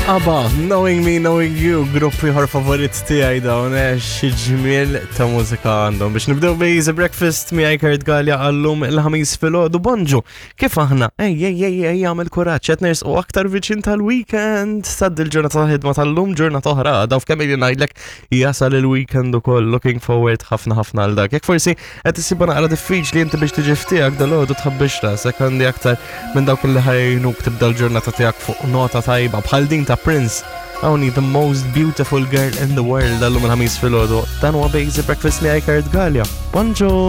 ABBA, Knowing Me, Knowing You, grupp ieħor favorit tiegħi dawn eh, xi ġmiel ta' mużika għandhom. Biex nibdew Bejza Breakfast miegħi Kurt Gallia għallum il-ħamis filgħodu bonġu. Kif aħna? Ej, ej, ej, ej, għamel kuraġġ qed nersqu aktar viċin tal-weekend. Sad il-ġurnata ta' ħidma tal-lum ġurnata oħra għadha f'kemm ili ngħidlek jasal il-weekend ukoll looking forward ħafna ħafna għal dak. Jekk forsi qed issibha naqra diffiċli inti biex tiġi ftiegħek dal-għodu tħabbix rasek għandi aktar minn dawk li ħajnuk tibda l-ġurnata tiegħek fuq nota tajba bħal din ta' Prince. Hawnhi the most beautiful girl in the world għallum il-ħamis filgħodu. Dan huwa Basic Breakfast li Kurt Gallia. Bonġu!